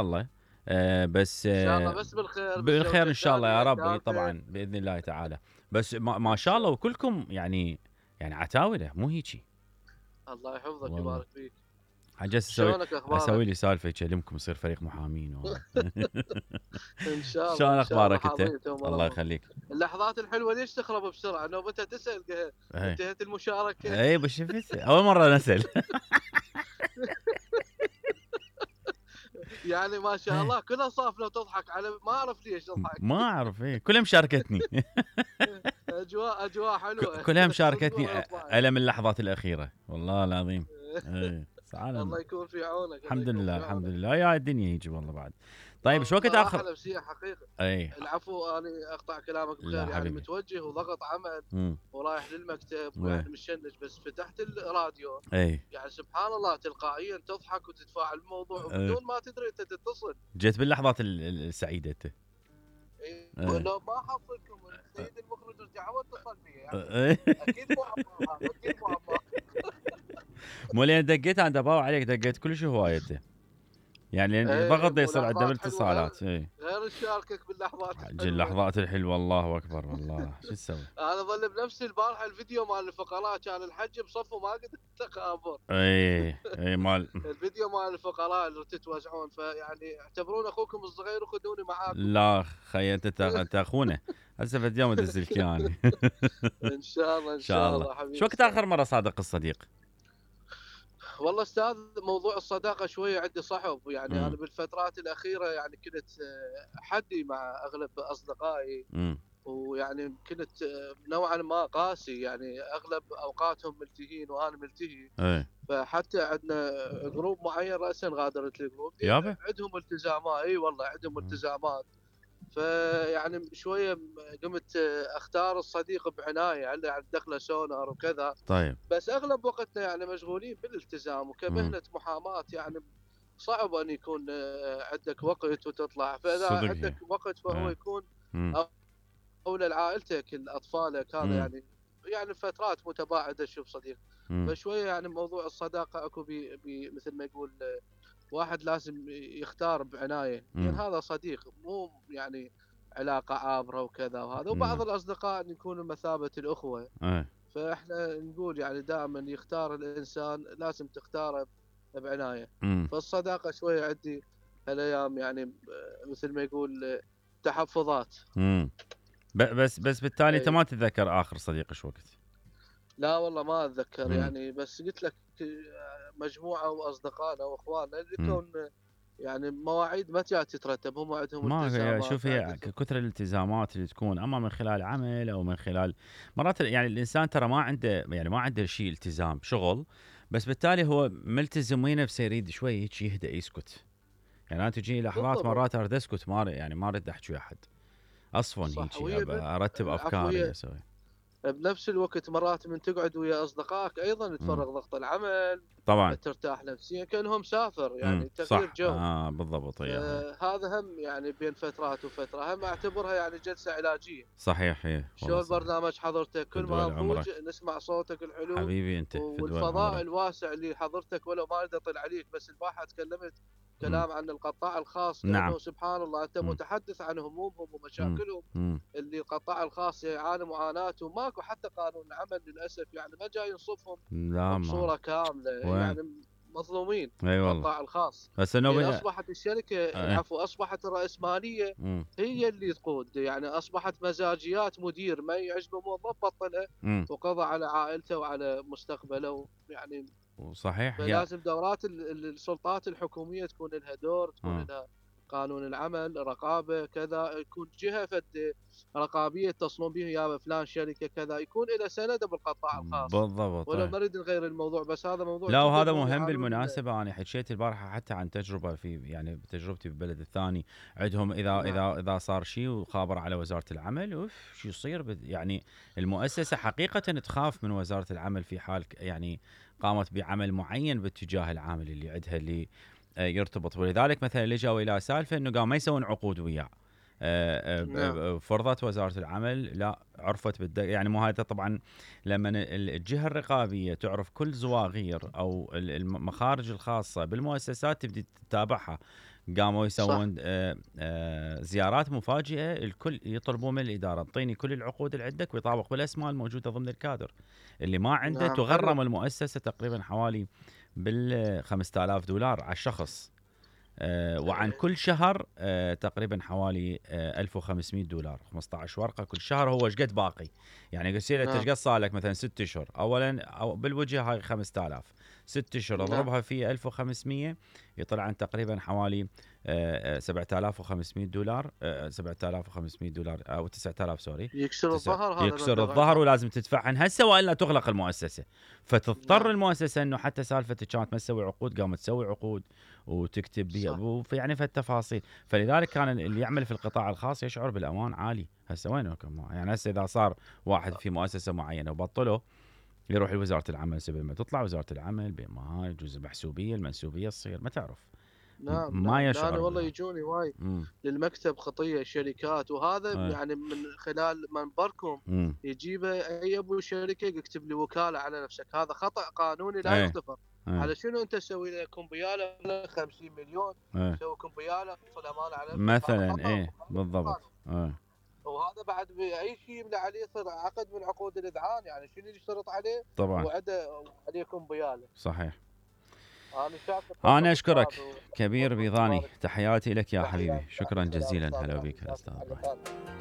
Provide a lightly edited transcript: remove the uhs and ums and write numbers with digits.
الله. بس ان شاء الله بس بالخير بالخير بالزوجه ان شاء الله الثانيه يا رب، اي الثالثه. طبعا باذن الله تعالى. بس ما ان شاء شاء الله الله. وكلكم يعني عتاوله مو هيجي. الله يحفظك والله ويبارك فيك. حجز شلونك اسوي اخبارك؟ لي سالفه يكلمكم يصير فريق محامين ان شاء الله شلون ان شاء الله اخبارك انت؟ حاضرين تو الله مرمى. يخليك. اللحظات الحلوه ليش تخرب بسرعه؟ نوبتها تسال اي انتهت المشاركه. اي بس شفت اول مره نسال. يعني ما شاء الله كلها صافنه وتضحك على ما اعرف ليش تضحك. ما اعرف، كلها مشاركتني. اجواء حلوه. كلها اصبر مشاركتني اطلع. الم اللحظات الاخيره والله العظيم. اي الله سعاده. يكون في عونك، الله الحمد يكون لله في الحمد عونك. لله يا الدنيا يجي والله بعد. طيب شو وقت والله اخر؟ راحه نفسيه حقيقه. اي العفو، انا اقطع كلامك لا بخير، يعني حبيبي. متوجه وضغط عمل امم ورايح للمكتب وين؟ ويعني مشنج، بس فتحت الراديو. اي يعني سبحان الله تلقائيا تضحك وتتفاعل الموضوع اي وبدون ما تدري انت تتصل. جيت باللحظات السعيده انت. إيه، اي لو ما حصلكم السيد المخرج رجع واتصل بي يعني. اي اكيد مو عبالها، اكيد مو عبالها. مو لين دقيت انا دباو عليك، دقيت كل شيء هوايه انت. يعني لأن ايه ضغط دا يصير عندنا ملاحظات حلوه، بالاتصالات. اي غير نشاركك باللحظات الحلوه. اللحظات الحلوه الله اكبر والله شو تسوي. انا ظل بنفسي البارحه الفيديو مال الفقراء كان الحج بصف وما قدرت اخابر. اي مال. الفيديو مال الفقراء اللي تتوزعون، فيعني اعتبرون اخوكم الصغير وخذوني معاكم. لا خي انت اخونا. هسه في اليوم ادز لك اياني. ان شاء الله ان ان شاء شاء الله. الله شو حبيبي وقت استاذ. اخر مره صادق الصديق؟ والله استاذ موضوع الصداقه شويه عندي صعب، يعني انا امم بالفترات الاخيره يعني كنت حدي مع اغلب اصدقائي، امم ويعني كنت نوعا ما قاسي، يعني اغلب اوقاتهم ملتهين وانا ملتهي. اي فحتى عندنا جروب معين راسا غادرت الجروب دي يابا. عندهم التزامات، اي والله عندهم التزامات. فيعني شويه قمت اختار الصديق بعنايه، يعني دخله سونار وكذا. طيب. بس اغلب وقتنا يعني مشغولين بالالتزام، امم وكمهنه محاماه يعني صعب ان يكون عندك وقت وتطلع. فاذا صدق عندك هي. وقت فهو اي يكون امم اولى لعائلتك لاطفالك، هذا امم يعني فترات متباعده تشوف صديق. امم فشويه يعني موضوع الصداقه اكو بي مثل ما يقول واحد لازم يختار بعنايه، لان امم هذا صديق مو يعني علاقه عابره وكذا وهذا. وبعض نعم. الاصدقاء يكونوا مثابه الاخوه. اي فاحنا نقول يعني دائما يختار الانسان لازم تختاره بعنايه. امم فالصداقه شويه عندي هالايام يعني مثل ما يقول تحفظات. امم بس بالتالي انت اي ما تتذكر اخر صديق شو وقت؟ لا والله ما اتذكر امم يعني، بس قلت لك مجموعه واصدقائنا واخواننا اللي امم كون يعني مواعيد ما جات تترتب، هم عندهم ما هي التزامات شوف، هي عندهم. كثر الالتزامات اللي تكون اما من خلال عمل او من خلال مرات يعني الانسان ترى ما عنده، يعني ما عنده شيء التزام شغل، بس بالتالي هو ملتزم وين نفسه يريد شوي هيك يهدأ يسكت. يعني انا تجيني لحظات بالضبط مرات اريد اسكت، ما يعني ما اريد احكي ويا احد، اصفن صح. هيك وهي ارتب العفو افكاري هي اسوي. بنفس الوقت مرات من تقعد ويا اصدقائك ايضا امم تفرغ ضغط العمل، طبعا. ترتاح نفسيا كانهم مسافر، يعني تغيير صح جو. بالضبط هي. فهذا هم يعني بين فترات وفتره هم اعتبرها يعني جلسه علاجيه. صحيح هي والله شو صحيح. البرنامج حضرتك كل فدوى ما نضوج عمرك نسمع صوتك الحلو حبيبي انت، فدوى والفضاء عمرك. الواسع اللي حضرتك. ولو ما اريد اطل عليك، بس البارحه تكلمت امم كلام عن القطاع الخاص، نعم. لانه سبحان الله انت امم متحدث عن همومهم امم ومشاكلهم امم اللي القطاع الخاص يعاني معاناته. ماكو حتى قانون العمل للاسف، يعني ما جاي ينصفهم لا ما بصوره كامله، وين. يعني مظلومين اي والله. القطاع الخاص. بس لان انه اصبحت الشركه ايه. العفو اصبحت الراسماليه امم هي اللي تقود، يعني اصبحت مزاجيات مدير ما يعجبه موظف بطله امم وقضى على عائلته وعلى مستقبله يعني. صحيح هي. فلازم دورات السلطات الحكوميه تكون لها دور، تكون اه لها قانون العمل رقابه كذا، يكون جهه فد رقابيه تصلون به يا فلان شركه كذا، يكون له سند بالقطاع الخاص. بالضبط ولو طيب. ما نريد نغير الموضوع، بس هذا موضوع لا جدا وهذا هم مهم يعانون بالمناسبة. أنا حكيت البارحة حتى عن تجربة في، يعني بتجربتي بالبلد الثاني عندهم، نعم إذا صار شيء وخابر على وزارة العمل أوف شو يصير يعني المؤسسة حقيقة تخاف من وزارة العمل في حال يعني قامت بعمل معين باتجاه العامل اللي عندها اللي يرتبط. ولذلك مثلا لجوا إلى سالفة إنه قام ما يسوون عقود وياه. نعم فرضت وزارة العمل لا عرفت يعني مو هذا طبعا لما الجهة الرقابية تعرف كل زواغير أو المخارج الخاصة بالمؤسسات تبدي تتابعها قاموا صح. يسوون زيارات مفاجئه، الكل يطلبون من الاداره انطيني كل العقود اللي عندك ويطابق بالاسماء الموجوده ضمن الكادر. اللي ما عنده نعم، حلو. تغرم المؤسسه تقريبا حوالي بال $5000 على الشخص. وعن كل شهر تقريبا حوالي $1500، 15 ورقه كل شهر. هو ايش قد باقي؟ يعني يصير انت نعم. ايش قد صار لك مثلا 6 اشهر، اولا أو بالوجه هاي 5000، 6 اشهر نعم. اضربها في 1500 يطلع عن تقريبا حوالي $7500، $7500 او 9000 سوري. يكسر الظهر هذا يكسر المبلغ الظهر أيضاً. ولازم تدفعهن هسه والا تغلق المؤسسه. فتضطر نعم. المؤسسه انه حتى سالفه كانت ما تسوي عقود قامت تسوي عقود وتكتب بها صح. يعني في التفاصيل. فلذلك كان اللي يعمل في القطاع الخاص يشعر بالامان عالي. هسه وينكم؟ يعني هسه اذا صار واحد في مؤسسه معينه وبطله يروح لوزاره العمل، سبل ما تطلع وزاره العمل بما يجوز المحسوبيه المنسوبيه تصير ما تعرف. نعم. ما نعم. يشعر أنا والله بالأمان. يجوني وايد مم. للمكتب خطية شركات، وهذا أي. يعني من خلال منبركم مم. يجيبه أي أبو شركة يكتب لي وكالة على نفسك. هذا خطأ قانوني لا أي. يغتفر. أي. على شنو أنت تسوي لك كمبيالة 50 مليون أي. تسوي كمبيالة في الأمانة على نفسك؟ هذا مثلا خطأ ايه ومخالف بالضبط. للقانون. وهذا بعد بأي شيء يملى عليه يصير عقد من عقود الإذعان. يعني شنو يشترط عليه طبعا وعده عليه كمبيالة؟ صحيح. أنا شاكر. انا اشكرك أستاذ كبير بيضاني، تحياتي لك يا تحياتي. حبيبي، شكرا سلام جزيلا. أستاذ هلا علي. بك الاستاذ. على خير.